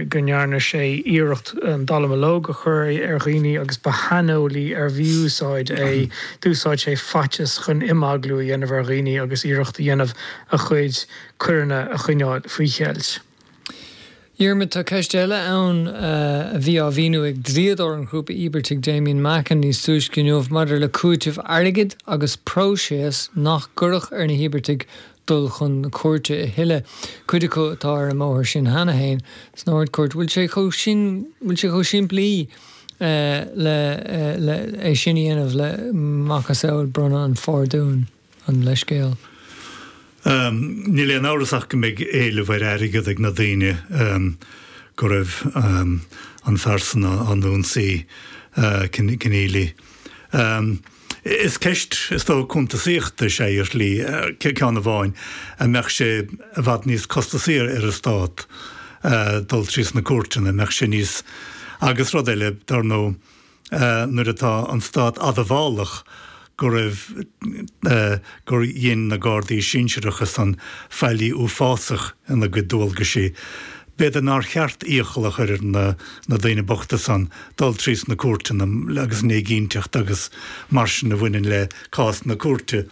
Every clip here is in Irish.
go ndearna sé iarracht an dallamullóg a chur ar dhaoine agus ba shaineolaí ar mhí-úsáid é. D'úsáid sé faitíos chun imeaglú a dhéanamh ar dhaoine agus iarracht a dhéanamh a chuid coireanna a choinneáil faoi cheilt. Diarmuid, tá ceist eile ann a bhí á mhíniú ag dlíodóir an ghrúpa íobartaigh Damien Macken níos túisce inniu maidir le cúiteamh airgid agus próiseas nach gcuirfeadh ar na híobartaigh dul chun na cúirte a thuilleadh, cuid acu atá ar an mbóthar sin cheana féin san Ard-Chúirt. Bhfuil sé chomh sin, bhfuil sé chomh simplí le le é sin a dhéanamh le macasamhail bronnadh an phardúin? an leithscéal. Níl aon amhras ach go mbeidh éileamh ar airgead ag na daoine go raibh an fear san á n-ionsaí, Kenneally. Is ceist, is dócha, cuntasaíochta is ea í ar shlí, ceann amháin, an mbeadh sé i bhfad níos costasaí ar an stát dul trí sna cúirteanna, an mbeadh sé níos, agus rud eile, dar ndóigh, nuair atá an stát admhálach go raibh, gur dhein na Gardaí sinsearacha san faillí uafásach ina gcuid dualgaisí. B'fhéidir nár cheart iachall a chur ar na na daoine bochta san dul trí sna cúirteanna agus an éiginnteacht agus mar sin a bhaineann le cás na cúirte.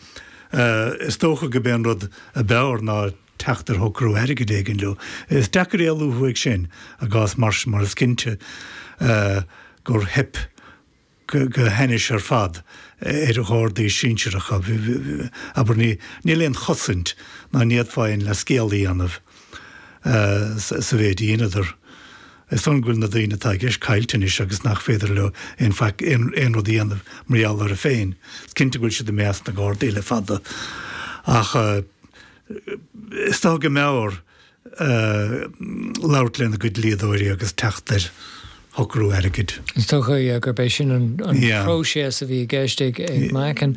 Is dócha go b'é an rud a b'fhearr ná teacht ar shocrú airgid éigin leo. Is deacair éalú uaidh sin i gcás mar sin mar is cinnte gur theip go hainnis ar fad ar Ghardaí sinsearacha. Abair, níl aon chosaint ná ní fhéadfá aon leithscéal a dhéanamh sa mhéid a dheineadar. Is dóigh go bhfuil na daoine atá i gceist caillte anois agus nach féidir leo aon faic, aon rud a dhéanamh mar gheall orthu féin. Is cinnte go bhfuil siad i measc na nGardaí le fada ach is dócha go mb'fhearr labhairt lena gcuid dlíodóirí agus teacht ar shocrú airgid. Is dócha gurb é sin an próiseas a bhí i gceist ag Macken.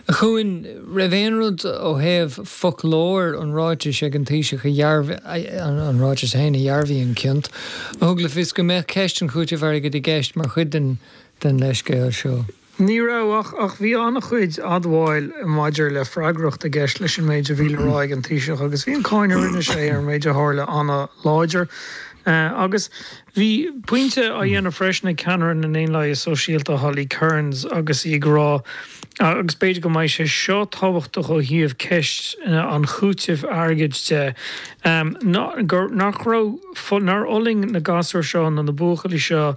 A Chuain, raibh aon rud ó thaobh foclóir an ráitis ag an Taoiseach a dhearbhaigh, an ráiteas féin a dhearbhaigh an ciont, a thug le fios go mbeadh ceist an chúitimh airgid i gceist mar chuid den leithscéal seo? Ní raibh, ach ach bhí an-chuid admháil maidir le freagracht i gceist leis an méid a bhí le rá ag an Taoiseach agus bhí an cáineadh a rinne sé ar an méid a tharla an-láidir. Agus bhí pointe á dhéanamh freisin ag ceannaire na nDaonlathaithe Sóisialta Holly Cairns agus í ag rá, agus b'fhéidir go mbeidh sé seo tábhachtach ó thaobh ceist an chúitimh airgid de, gur nach raibh, nár fhulaing na gasúir seo nó na buachaillí seo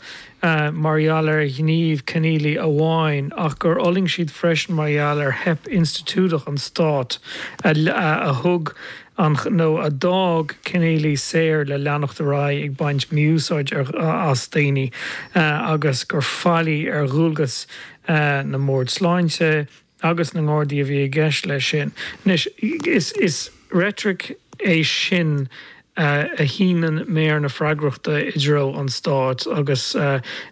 mar gheall ar ghníomh Kenneally amháin, ach gur fhulaing siad freisin mar gheall ar theip institiúideach an stáit a thug an nó a d'fhág Kenneally saor le leanacht ar aghaidh ag baint mí-úsáid as daoine agus gur faillí ar dhualgas na mbord sláinte agus na nGardaí a bhí i gceist leis sin. Anois, is reitric é sin a shíneann méar na freagrachta i dtreo an stáit agus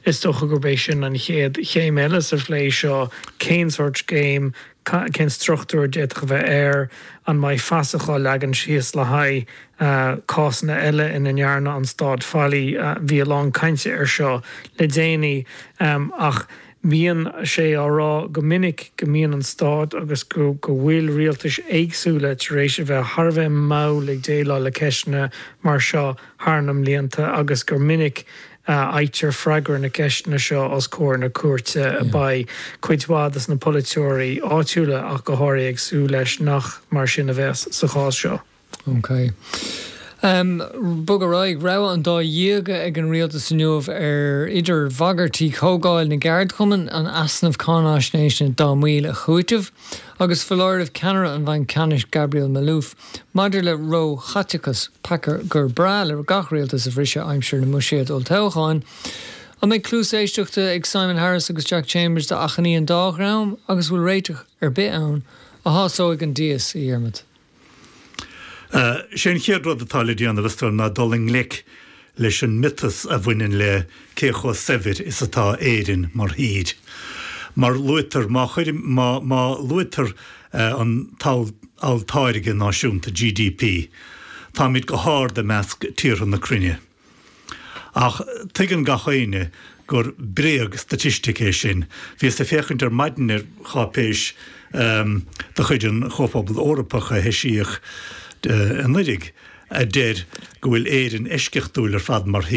is dócha gurb é sin an chéad chéim eile sa phlé seo, cén sórt scéim, cén struchtúr a d'fhéadfadh a bheith air, an mbeidh fasach á leagan síos le haghaidh cásanna eile ina ndearna an stát faillí. Bhí a lán cainte air seo le déanaí ach Bíonn sé á rá go minic go mbíonn an stát agus go bhfuil rialtais éagsúla tar éis a bheith thar a bheith mall ag déileáil le ceisteanna mar seo thar na mblianta agus gur minic a fhaightear freagra na gceisteanna seo os comhair na cúirte. Beidh cuid mhaith de na polaiteoirí áitiúla ach go háirithe ag súil leis nach mar sin a bheas sa chás seo. Ok. Bog ar aghaidh. Rogha an dá dhíoga ag an rialtas inniu ar idir bhagairtí Chomhdháil na gCeardchumann an easnamh cáinaisnéise dá mbaill a chúiteamh agus foláireamh ceannaire an Bhainc Ceannais Gabriel Maalouf maidir le ró-chaiteachas, peaca gur breá le gach rialtas a bhriseadh aimsir na mbuiséad olltoghcháin. An mbeidh cluas éisteachta ag Simon Harris agus Jack Chambers d'achainí an dá dhream agus bhfuil réiteach ar bith ann a shásóidh an dias, a Dhiarmaid? Sé an chéad rud atá le déanamh, is dóigh liom, ná dul i ngleic leis an miotas a bhaineann le cé chomh saibhir is atá Éirinn mar thír. Mar luaitear, má chuirim, má, má luaitear an t-olltáirge náisiúnta, GDP, táimid go hard i measc tíortha na cruinne. Ach tuigeann gach éinne gur bréag staitistic é sin. Bhíos ag féachaint ar maidin ar cháipéis de chuid an Chomhphobail Eorpach a heisíodh anuiridh a deir go bhfuil Éirinn eisceachtúil ar fad mar thír.